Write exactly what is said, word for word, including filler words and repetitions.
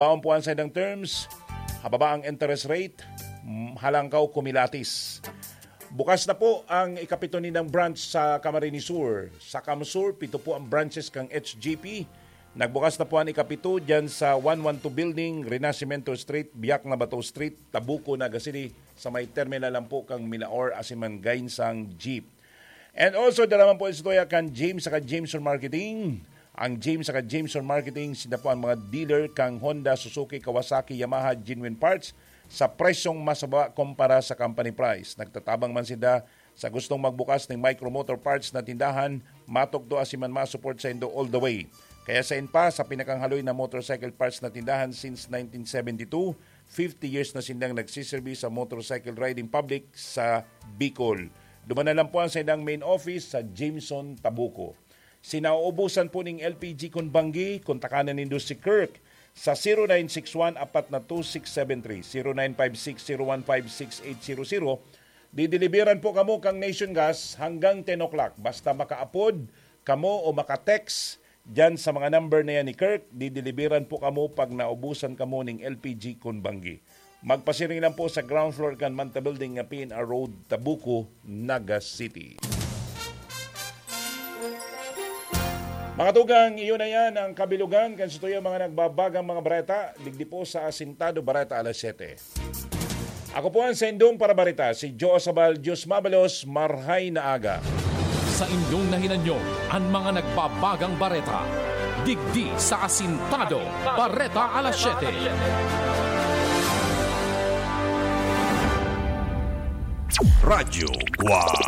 Baon po ang saindang terms, hababa ang interest rate, mm, halangkaw kumilatis. Bukas na po ang ikapito nindang branch sa Camarines Sur. Sa CamSur, pito po ang branches kan H G P. Nagbukas na po ang ikapito dyan sa one one two Building, Renacimiento Street, Biak na Bato Street, Tabuco, Naga City, sa may terminal lang po kang Milaor asin man Gainsang Jeep. And also, dara man po istorya kan James saka Jameson Marketing. Ang James saka Jameson Marketing, sila po ang mga dealer kang Honda, Suzuki, Kawasaki, Yamaha, genuine parts sa presyong mas mababa kumpara sa company price. Nagtatabang man sila sa gustong magbukas ng micro motor parts na tindahan, matukdo asin man ma-support saindo all the way. Kaya sain pa, sa pinakanghaloy na motorcycle parts na tindahan since nineteen seventy-two, fifty years na sindang nagsiserbi sa motorcycle riding public sa Bicol. Duman na lang po ang saindang main office sa Jameson, Tabuco. Sinauubusan po ning L P G kun banggi, kontakan na nindo si Kirk sa zero nine six one apat na two six seven three, zero nine five six zero one five six eight zero zero. Dideliveran po kamo kang Nation Gas hanggang ten o'clock. Basta makaapod kamo o maka-text diyan sa mga number na yan ni Kirk, dideliveran po kamo pag naubusan kamo ning L P G kun banggi. Magpasiring lang po sa ground floor kan Manta Building nga P N R Road, Tabuco, Naga City. Mga tugang, iyon na yan ang kabilugan kan satuyang mga nagbabagang mga bareta, digdi po sa Asintado Bareta Alas Siyete. Ako po ang saindong parabareta, si Joe Sabal. Diyos mabalos, marhay na aga. Sa indong nahinanyo, an mga nagbabagang bareta. Digdi sa Asintado, Bareta Alas Siyete. Radyo Guwang.